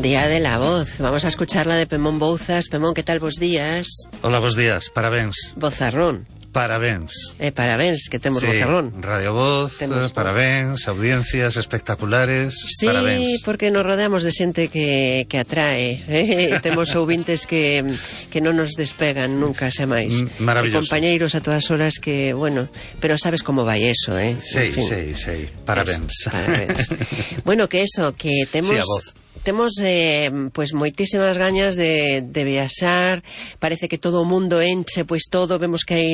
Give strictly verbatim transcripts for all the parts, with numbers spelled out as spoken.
Día de la Voz. Vamos a escucharla de Pemón Bouzas. Pemón, ¿qué tal vos días? Hola, vos días, parabéns. Vozarrón. Parabéns. Eh, parabéns, que temos sí, vozarrón. Radio Voz, temos parabéns, voz. Audiencias espectaculares, sí, parabéns. Sí, porque nos rodeamos de xente que, que atrae. Eh? Temos ouvintes que, que non nos despegan nunca, xa máis. Mm, maravilloso. E compañeiros a todas horas que, bueno, pero sabes como vai eso, eh? Sí, sí, sí, parabéns. Eso, parabéns. Bueno, que eso, que temos... Sí, a voz. Temos eh, pues moitísimas gañas de, de viaxar. Parece que todo o mundo enche, pois todo. Vemos que hai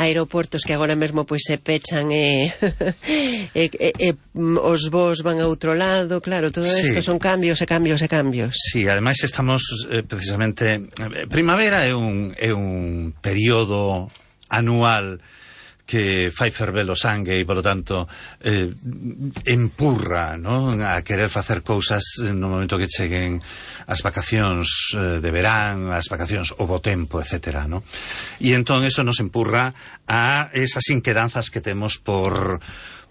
aeroportos que agora mesmo pois se pechan e, e, e, e os voos van a outro lado. Claro, todo isto sí. Son cambios e cambios e cambios. Sí, ademais estamos eh, precisamente... Primavera é un, é un período anual que fai ferver o sangue e, polo tanto, eh, empurra, ¿no?, a querer facer cousas no momento que cheguen as vacacións eh, de verán, as vacacións o bo tempo, etcétera, ¿no? E entón eso nos empurra a esas inquedanzas que temos por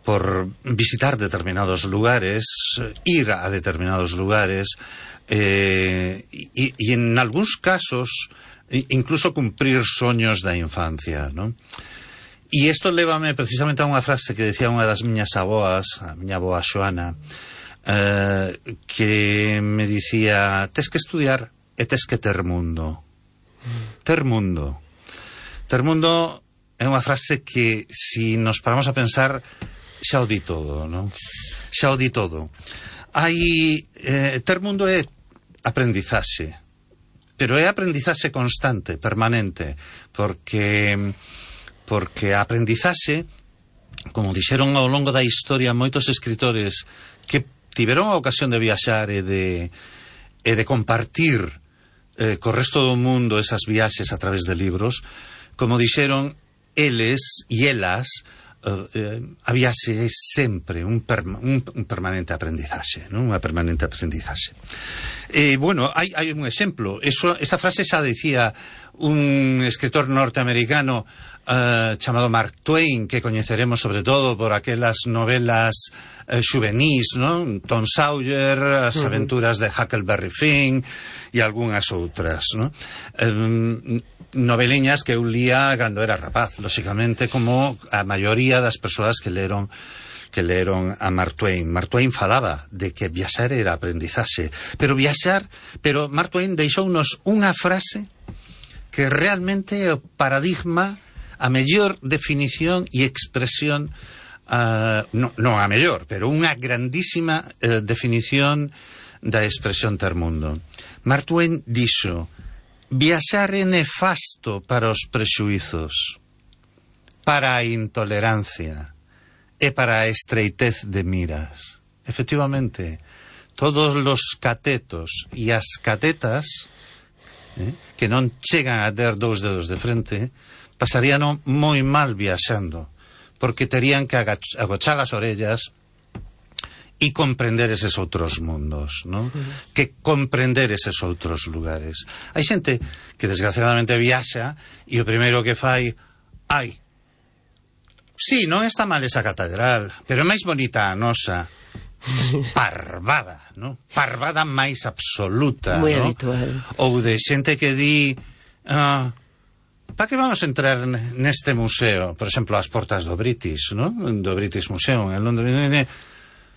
por visitar determinados lugares, ir a determinados lugares, eh, e, e en algúns casos incluso cumprir soños da infancia, ¿no? E isto lévame precisamente a unha frase que decía unha das miñas avoas, a miña avoa Xoana, eh, que me dicía: tes que estudiar e tes que ter mundo. Ter mundo. Ter mundo é unha frase que, si nos paramos a pensar, xa o di todo, non? Xa o di todo. Hai, eh, ter mundo é aprendizaxe, pero é aprendizaxe constante, permanente, porque... porque a aprendizaxe, como dixeron ao longo da historia moitos escritores que tiveron a ocasión de viaxar e de, e de compartir eh, co resto do mundo esas viaxes a través de libros, como dixeron eles e elas, eh, eh, a viaxe é sempre un, perma, un, un permanente aprendizaxe, non? Unha permanente aprendizaxe. E, bueno, hai, hai un exemplo. Eso, esa frase xa dicía un escritor norteamericano Uh, chamado Mark Twain, que coñeceremos sobre todo por aquelas novelas uh, xuvenís, non? Tom Sawyer, as uh-huh. aventuras de Huckleberry Finn e algunhas outras, non? Um, noveliñas que eu lía cando era rapaz, lóxicamente, como a maioría das persoas que leron que leron a Mark Twain. Mark Twain falaba de que viaxar era aprendizaxe, pero viaxar, pero Mark Twain deixounos unha frase que realmente é o paradigma, a mellor definición e expresión, uh, non no a mellor, pero unha grandísima uh, definición da expresión ter mundo. Mark Twain dixo: viaxar é nefasto para os prexuizos, para a intolerancia e para a estreitez de miras. Efectivamente, todos os catetos e as catetas eh, que non chegan a ter dous dedos de frente pasarían moi mal viaxando, porque terían que agochar as orellas e comprender eses outros mundos, ¿no? Uh-huh. Que comprender eses outros lugares. Hai xente que desgraciadamente viaxa e o primeiro que fai, ai, sí, non está mal esa catedral, pero é máis bonita a nosa. Parvada, ¿no? Parvada máis absoluta, moi ¿no? Habitual. Ou de xente que di... Ah, para que vamos a entrar neste museo? Por exemplo, as portas do British, ¿no? Do British Museum en Londres.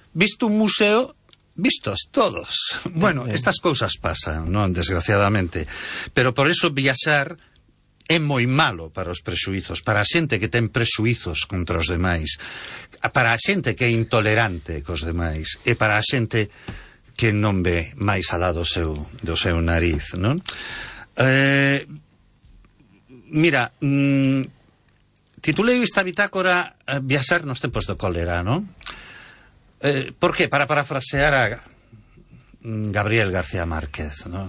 Visto un museo, vistos todos. Bueno, estas cousas pasan, non? Desgraciadamente. Pero por eso viaxar é moi malo para os prexuizos, para a xente que ten prexuizos contra os demais, para a xente que é intolerante cos demais, e para a xente que non ve máis alá do seu, do seu nariz, non? Eh... Mira, mmm, titulei esta bitácora eh, Viaxar nos tempos do cólera, non? Eh, por que? Para parafrasear a Gabriel García Márquez, non?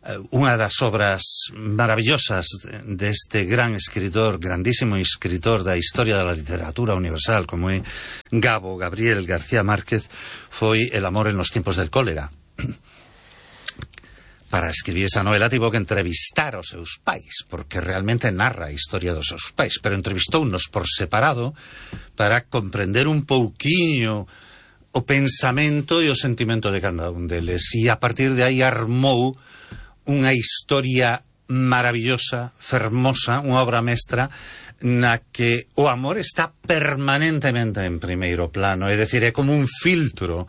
Eh, unha das obras maravillosas deste gran escritor, grandísimo escritor da historia da literatura universal, como é Gabo Gabriel García Márquez, foi El amor en los tiempos del cólera. Para escribir esa novela tivo que entrevistar aos seus pais, porque realmente narra a historia dos seus pais, pero entrevistounos por separado para comprender un pouquiño o pensamento e o sentimento de cada un deles. E a partir de aí armou unha historia maravillosa, fermosa, unha obra mestra, na que o amor está permanentemente en primeiro plano, é dicir, é como un filtro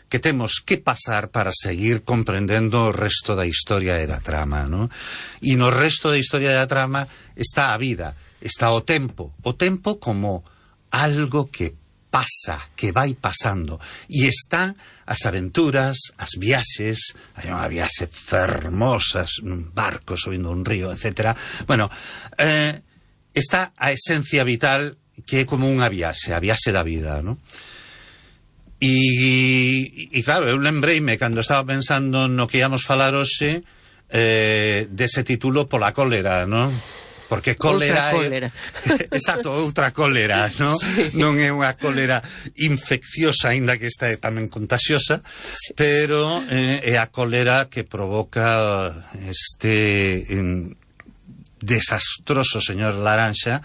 que temos que pasar para seguir comprendendo o resto da historia e da trama, ¿no? E no resto da historia da trama está a vida, está o tempo, o tempo como algo que pasa, que vai pasando, e están as aventuras, as viaxes, hai unha viaxe fermosa nun barco subindo un río, etcétera. Bueno, eh, está a esencia vital que é como unha viaxe, a viaxe da vida, ¿no? E, e claro, eu lembreime cando estaba pensando no que íamos falar hoxe eh, dese título pola cólera, non? Porque cólera outra cólera. É... Exacto, outra cólera, non? Sí. Non é unha cólera infecciosa, aínda que esta é tamén contagiosa, sí. Pero eh, é a cólera que provoca este eh, desastroso señor Laranxa,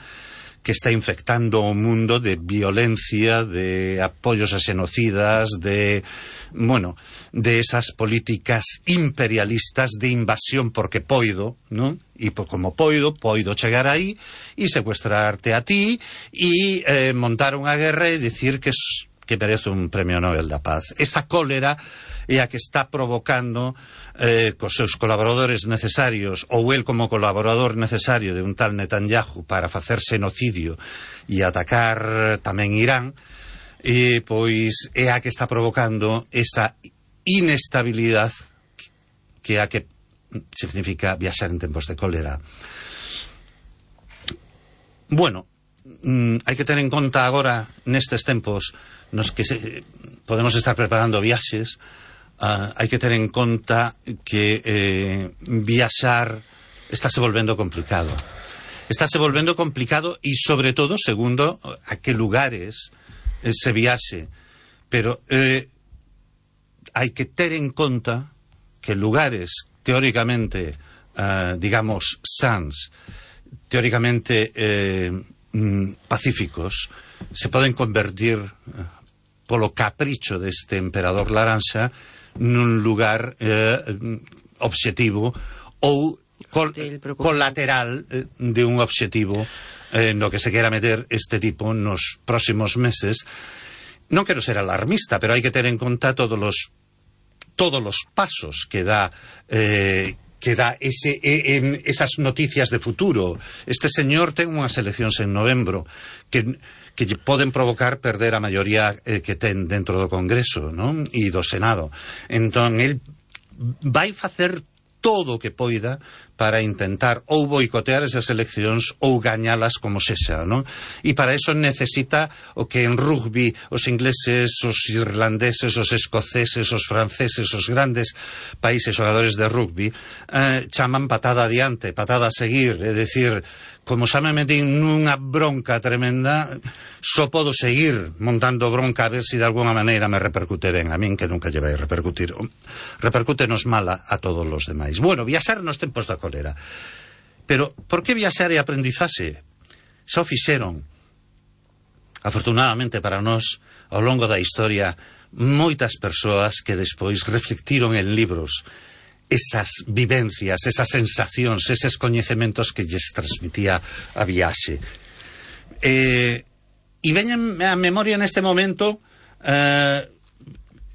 que está infectando o mundo de violencia, de apoyos a xenocidas, de, bueno, de esas políticas imperialistas de invasión porque poido, ¿no? E por, como poido, poido chegar aí e secuestrarte a ti e eh, montar unha guerra e dicir que, es, que merece un premio Nobel da Paz. Esa cólera é a que está provocando eh, cos seus colaboradores necesarios, ou el como colaborador necesario de un tal Netanyahu para facer xenocidio e atacar tamén Irán, e pois é a que está provocando esa inestabilidade que é a que significa viaxar en tempos de cólera. Bueno, mm, hai que ter en conta agora nestes tempos nos que se, podemos estar preparando viaxes. Uh, hai que ter en conta que eh, viaxar estáse volvendo complicado. Estáse volvendo complicado e, sobre todo, segundo a que lugares eh, se viaxe. Pero eh, hai que ter en conta que lugares teóricamente, uh, digamos, sans, teóricamente eh, mm, pacíficos, se poden convertir uh, polo capricho deste emperador Laranxa nun lugar eh, obxectivo ou col colateral eh, de un obxectivo eh, no que se quera meter este tipo nos próximos meses. Non quero ser alarmista, pero hai que ter en conta todos os todos os pasos que dá eh, que dá ese, eh, en esas noticias de futuro. Este señor ten unhas eleccións en novembro que que poden provocar perder a maioría eh, que ten dentro do Congreso, non? E do Senado. Entón, el vai facer todo o que poida para intentar ou boicotear esas eleccións ou gañalas como sexa, non? E para eso necesita o que en rugby os ingleses, os irlandeses, os escoceses, os franceses, os grandes países xogadores de rugby eh, chaman patada adiante, patada a seguir, é dicir, como xa me metín nunha bronca tremenda, só podo seguir montando bronca a ver se si de alguna maneira me repercute ben. A min que nunca lle vai repercutir. Repercútenos mala a todos os demais. Bueno, viaxar nos tempos da cólera. Pero, por que viaxar e aprendizaxe? Xa o fixeron. Afortunadamente para nós, ao longo da historia, moitas persoas que despois reflectiron en libros esas vivencias, esas sensacións, eses coñecementos que lles transmitía a viaxe. Eh, e veñen a memoria neste momento, eh,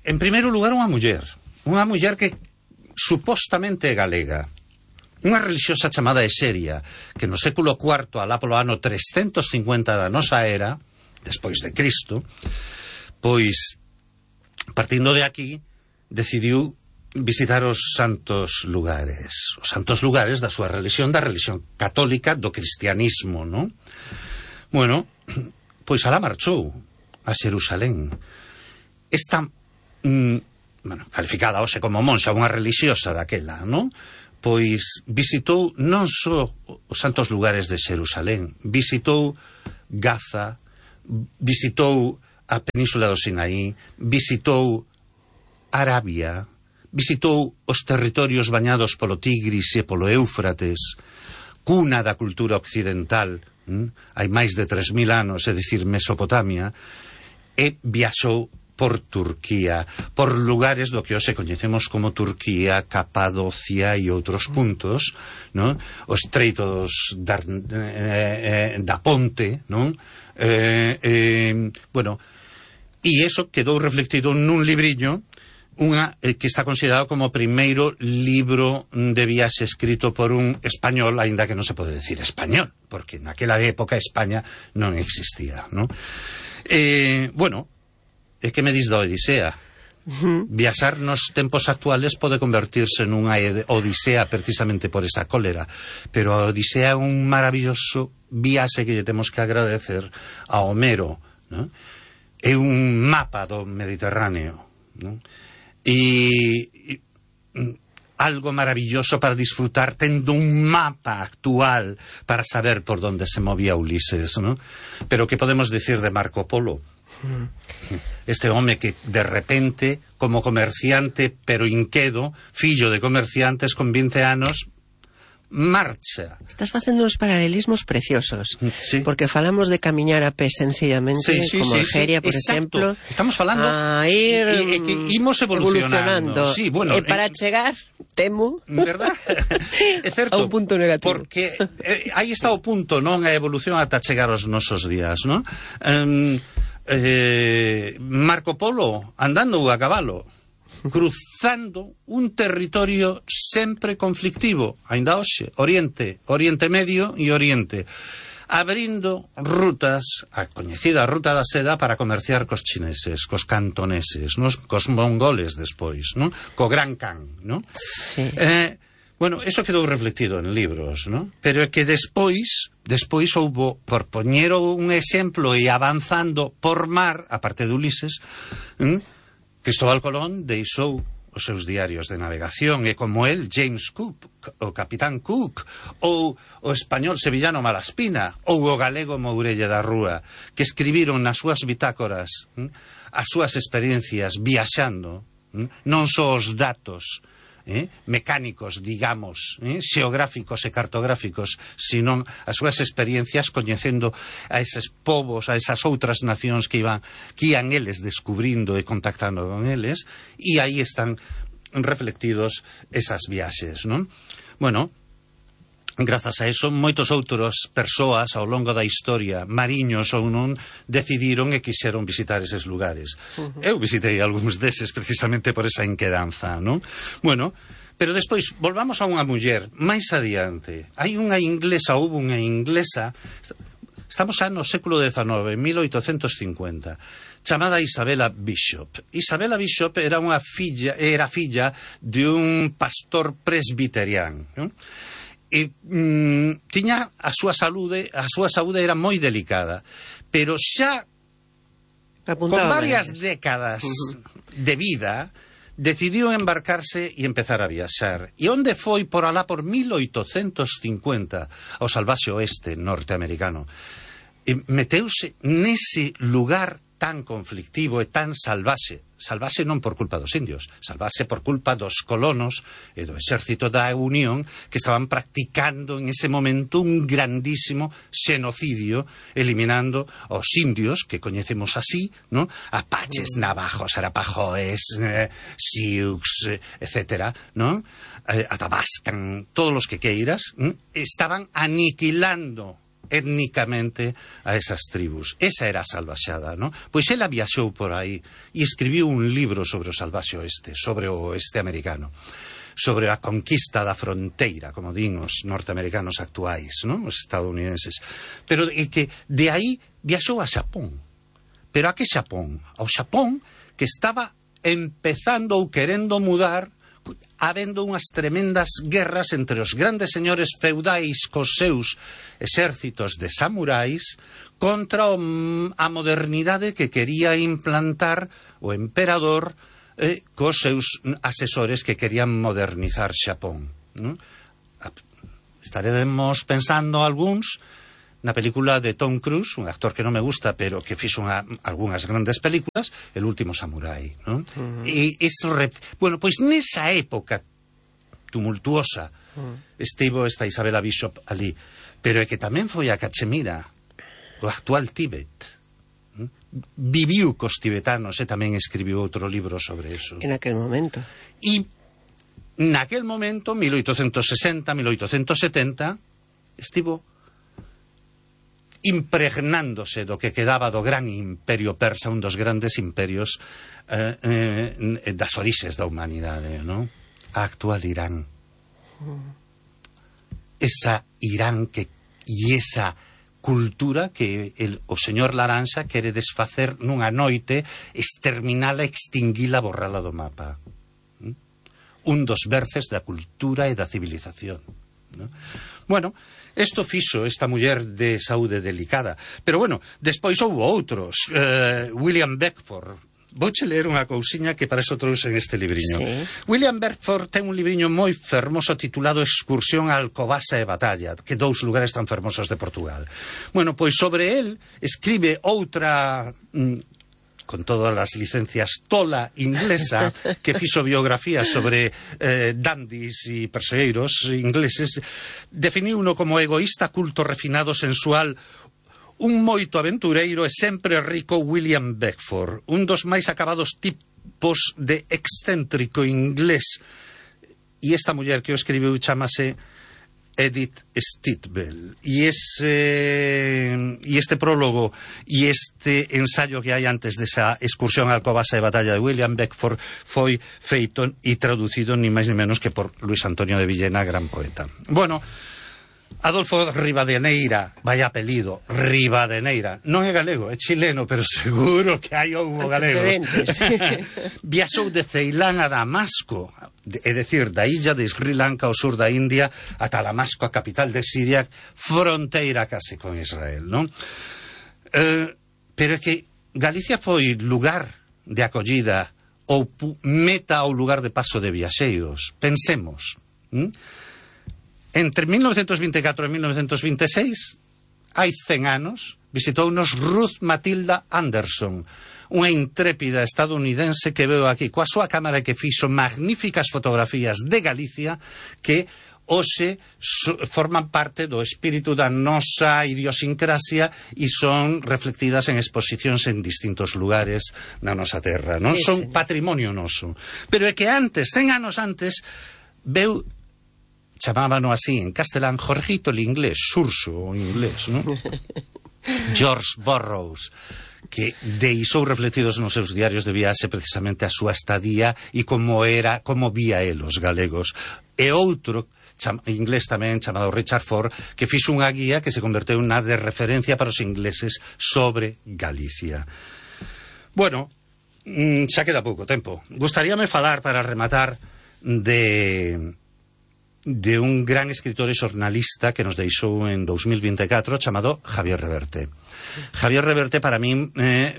en primeiro lugar, unha muller. Unha muller que supostamente é galega. Unha religiosa chamada Exeria, que no século cuarto, alá polo ano trescentos cincuenta da nosa era, despois de Cristo, pois, partindo de aquí, decidiu visitar os santos lugares, os santos lugares da súa religión, da religión católica, do cristianismo, non? Bueno, pois alá marchou a Xerusalén. Esta, mm, bueno, calificada hoxe como monxa, unha religiosa daquela, non? Pois visitou non só os santos lugares de Xerusalén, visitou Gaza, visitou a península do Sinaí, visitou Arabia, visitou os territorios bañados polo Tigris e polo Éufrates, cuna da cultura occidental, hm? hai máis de tres mil anos, é dicir, Mesopotamia, e viaxou por Turquía, por lugares do que hoxe coñecemos como Turquía, Capadocia e outros puntos, non? O estreito dos da, eh, da Ponte, non? Eh, eh, bueno, e iso quedou reflectido nun libriño unha eh, que está considerado como o primeiro libro de viaxe escrito por un español, aínda que non se pode decir español, porque naquela época España non existía, non? Eh, bueno, e que me dis da Odisea? Uh-huh. Viaxar nos tempos actuales pode convertirse nunha odisea precisamente por esa cólera, pero a Odisea é un maravilloso viaxe que lle temos que agradecer a Homero, ¿no? É un mapa do Mediterráneo, ¿no? E, e algo maravilloso para disfrutar, tendo un mapa actual para saber por donde se movía Ulises, ¿no? Pero que podemos decir de Marco Polo? Este home que de repente, como comerciante pero inquedo, fillo de comerciantes con vinte anos, marcha. Estás facendo uns paralelismos preciosos, sí. Porque falamos de camiñar a pé sencillamente, sí, sí, como sí, Algeria, sí, por exacto. exemplo. Estamos falando a ir e, e, que imos evolucionando. evolucionando. Sí, bueno, e para eh, chegar, temo, verdad? É certo, a un punto negativo. Porque eh, aí está o punto, non? A evolución ata chegar aos nosos días, non? Um, eh, Marco Polo andando a cabalo, cruzando un territorio sempre conflictivo, aínda hoxe, Oriente, Oriente Medio e Oriente, abrindo rutas, a coñecida ruta da seda para comerciar cos chineses, cos cantoneses, nos, cos mongoles despois, non? Co Gran Khan, non? Sí. Eh, bueno, eso quedou reflectido en libros, non? Pero é que despois, despois houbo, por poñer un exemplo e avanzando por mar, a parte de Ulises, ¿eh? Cristóbal Colón deixou os seus diarios de navegación, e como el, James Cook, o Capitán Cook, ou o español sevillano Malaspina, ou o galego Mourelle da Rúa, que escribiron nas súas bitácoras ¿eh? as súas experiencias viaxando, ¿eh? Non só os datos Eh, mecánicos, digamos, eh, xeográficos e cartográficos, sino as súas experiencias coñecendo a eses povos, a esas outras nacións que iban, que ian eles descubrindo e contactando con eles, e aí están reflectidos esas viaxes, non? Bueno, grazas a eso, moitos outros persoas ao longo da historia, mariños ou non, decidiron e quixeron visitar eses lugares. Uh-huh. Eu visitei algúns deses precisamente por esa inquedanza, non? Bueno, pero despois, volvamos a unha muller máis adiante. Hai unha inglesa, houve unha inglesa, estamos xa no século dezenove, mil oitocentos cincuenta, chamada Isabella Bishop. Isabella Bishop era unha filla, era filla de un pastor presbiteriano, non? E mm, tiña a súa saúde, a súa saúde era moi delicada, pero xa apuntaba con varias varias décadas uh-huh. de vida decidiu embarcarse e empezar a viaxar. E onde foi por alá por mil oitocentos cincuenta ao salvaxe oeste norteamericano. E meteuse nese lugar tan conflictivo e tan salvaxe, salvaxe non por culpa dos indios, salvaxe por culpa dos colonos e do exército da Unión que estaban practicando en ese momento un grandísimo xenocidio, eliminando aos indios, que coñecemos así, ¿no? Apaches, navajos, arapajoes, eh, sioux, eh, etcétera, ¿no? Eh, atabascan, todos los que queiras, ¿eh? Estaban aniquilando étnicamente a esas tribus. Esa era a salvaxada, ¿no? Pois ela viaxou por aí e escribiu un libro sobre o salvaxe oeste, sobre o oeste americano, sobre a conquista da fronteira, como din os norteamericanos actuais, ¿no? Os estadounidenses. Pero é que de aí viaxou a Xapón. Pero a que Xapón? Ao Xapón que estaba empezando ou querendo mudar, habendo unhas tremendas guerras entre os grandes señores feudais cos seus exércitos de samurais contra o, a modernidade que quería implantar o emperador eh, cos seus asesores que querían modernizar Xapón, ¿no? Estaremos pensando algúns na película de Tom Cruise, un actor que non me gusta, pero que fixo unha, algunhas grandes películas, El último samurái, non? Uh-huh. E eso, bueno, pois nesa época tumultuosa uh-huh. estivo esta Isabella Bishop ali, pero é que tamén foi a Cachemira, o actual Tíbet, ¿no? viviu cos tibetanos e tamén escribiu outro libro sobre eso. En aquel momento. E naquel momento, mil oitocentos sesenta, mil oitocentos setenta, estivo impregnándose do que quedaba do gran imperio persa, un dos grandes imperios eh, eh, das orixes da humanidade, non? A actual Irán. Esa Irán que e esa cultura que el, o señor Laranxa quere desfacer nunha noite, exterminala, extinguila, borrala do mapa. ¿Mm? Un dos berces da cultura e da civilización, ¿no? Bueno, isto fixo esta muller de saúde delicada. Pero bueno, despois houve outros. Uh, William Beckford. Vouche ler unha cousiña que para eso trouxen este libriño. Sí. William Beckford ten un libriño moi fermoso titulado Excursión a Alcobaza e Batalla, que dous lugares tan fermosos de Portugal. Bueno, pois sobre él escribe outra... Mm, con todas as licencias tola inglesa, que fixo biografía sobre eh, dandis e persegueiros ingleses, definiu uno como egoísta, culto, refinado, sensual, un moito aventureiro e sempre rico William Beckford, un dos máis acabados tipos de excéntrico inglés. E esta muller que o escribiu chamase Edith Stitwell, y ese y este prólogo y este ensayo que hai antes desa excursión a Alcobaza e Batalla de William Beckford foi feito e traducido ni máis ni menos que por Luis Antonio de Villena, gran poeta. Bueno, Adolfo Rivadeneira, vaya apelido, Rivadeneira, non é galego, é chileno, pero seguro que hai houbo galegos. Viaxou de Ceilán a Damasco, é dicir, da illa de Sri Lanka ao sur da India ata Damasco, a capital de Siria, fronteira case con Israel, non? Eh, pero é que Galicia foi lugar de acollida ou meta ou lugar de paso de viaxeiros. Pensemos, ¿m? Entre mil novecientos vinte e catro e mil novecientos vinte e seis, hai cen anos, visitounos Ruth Matilda Anderson, unha intrépida estadounidense que veo aquí coa súa cámara que fixo magníficas fotografías de Galicia que hoxe so, forman parte do espírito da nosa idiosincrasia e son reflectidas en exposicións en distintos lugares da nosa terra, non? Sí, son señor. Patrimonio noso. Pero é que antes, cen anos antes, veu, chamábano así en castelán, Jorgito el inglés, Xurxo o inglés, non? George Burroughs, que deixou reflectidos nos seus diarios de viaxe precisamente a súa estadía e como era, como vía el os galegos. E outro cham, inglés tamén chamado Richard Ford, que fixo unha guía que se converteu na de referencia para os ingleses sobre Galicia. Bueno, xa queda pouco tempo. Gustaríame falar para rematar de de un gran escritor e xornalista que nos deixou en dous mil vinte e catro chamado Javier Reverte. Javier Reverte para min eh,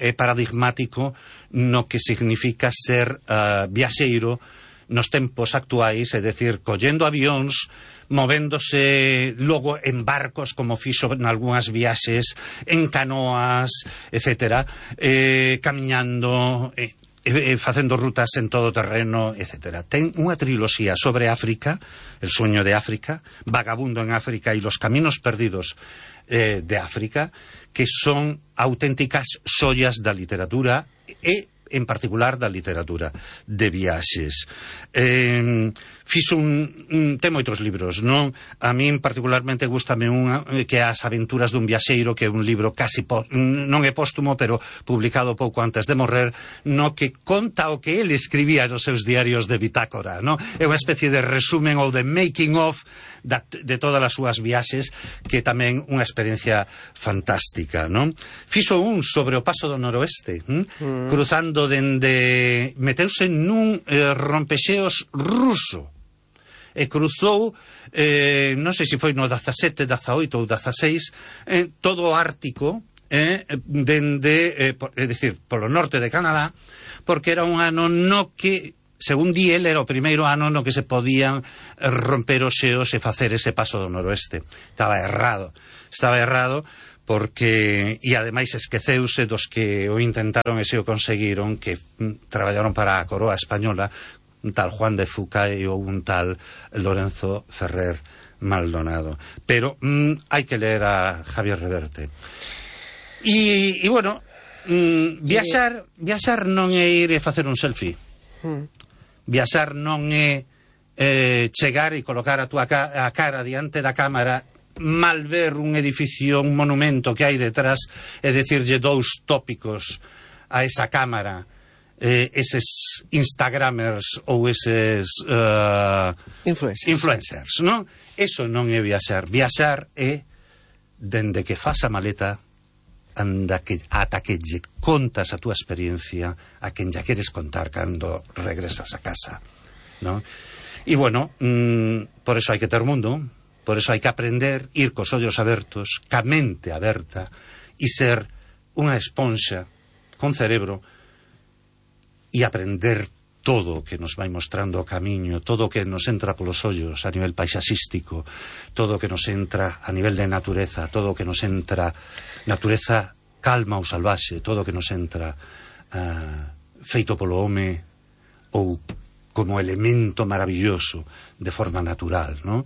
é paradigmático no que significa ser uh, viaxeiro nos tempos actuais, é dicir, collendo avións, movéndose logo en barcos como fixo en algunhas viaxes, en canoas, etcétera, eh, camiñando... Eh, E, e facendo rutas en todo terreno, etcétera. Ten unha triloxía sobre África, El sueño de África, Vagabundo en África e Los caminos perdidos eh, de África, que son auténticas xollas da literatura e, en particular, da literatura de viaxes. Eh, fixo un, un... ten moitos libros, non? A min particularmente gustame unha que é As aventuras dun viaxeiro, que é un libro casi po, non é póstumo, pero publicado pouco antes de morrer, no que conta o que ele escribía nos seus diarios de bitácora, non? É unha especie de resumen ou de making of da, de todas as súas viaxes, que é tamén unha experiencia fantástica, non? Fixo un sobre o paso do noroeste, hm? mm. cruzando dende... meteuse nun eh, rompexeos ruso, e cruzou, eh, non sei se foi no dezasete, dezaoito ou dezaseis, eh, todo o Ártico, eh, dende, eh, por, é dicir, polo norte de Canadá, porque era un ano no que, según di el, era o primeiro ano no que se podían romper os xeos e facer ese paso do noroeste. Estaba errado, estaba errado, porque, e ademais esqueceuse dos que o intentaron e se o conseguiron, que mm, traballaron para a coroa española, un tal Juan de Fucay ou un tal Lorenzo Ferrer Maldonado. Pero mm, hai que ler a Javier Reverte. E, e bueno, mm, viaxar, viaxar non é ir e facer un selfie. Mm. Viaxar non é eh, chegar e colocar a túa ca a cara diante da cámara, mal ver un edificio, un monumento que hai detrás e decirlle dous tópicos a esa cámara, eh, eses instagramers ou eses uh, influencers, influencers, non? Eso non é viaxar. Viaxar é dende que fas a maleta anda que, ata que lle contas a túa experiencia a quen ya queres contar cando regresas a casa, non? E bueno, mmm, por eso hai que ter mundo, por eso hai que aprender, ir cos ollos abertos, ca mente aberta, e ser unha esponxa con cerebro e aprender todo o que nos vai mostrando o camiño, todo o que nos entra polos ollos a nivel paisaxístico, todo o que nos entra a nivel de natureza, todo o que nos entra natureza calma ou salvaxe, todo o que nos entra uh, feito polo home ou como elemento maravilloso de forma natural, non?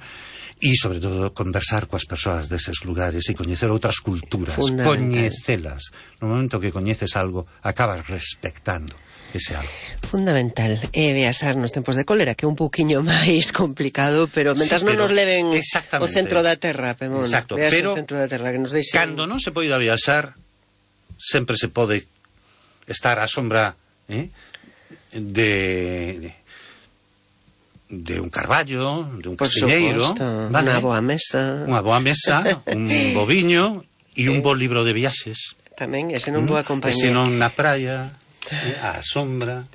E, sobre todo, conversar coas persoas deses lugares e coñecer outras culturas, coñecelas. No momento que coñeces algo, acabas respectando ese algo. Fundamental é viaxar nos tempos de cólera, que é un pouquiño máis complicado, pero mentras sí, pero, non nos leven o centro da terra, Pemón. Exacto, pero o centro da terra, que nos deixen... cando non se poida viaxar, sempre se pode estar á sombra eh, de... de un carballo, de un castiñeiro, vale? Unha boa mesa, unha boa mesa, un bo viño e un bo libro de viaxes. Tamén, ese non boa compañía. E se non na praia, eh, á sombra,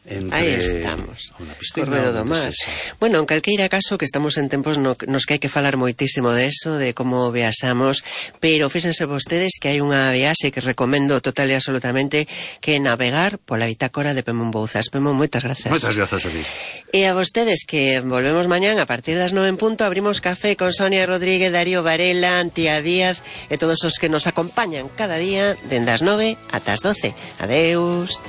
entre aí estamos, unha piscina, Corredo do Mar. Bueno, en calqueira caso que estamos en tempos no, nos que hai que falar moitísimo de eso, de como viaxamos, pero fíxense vostedes que hai unha viaxe que recomendo total e absolutamente, que é navegar pola bitácora de Pemón Bouzas. Pemón, moitas grazas. Moitas grazas a ti. E a vostedes que volvemos mañán a partir das nove en punto, abrimos café con Sonia Rodríguez, Darío Varela, Antía Díaz e todos os que nos acompañan cada día dende as nove ata as doce. Adeus.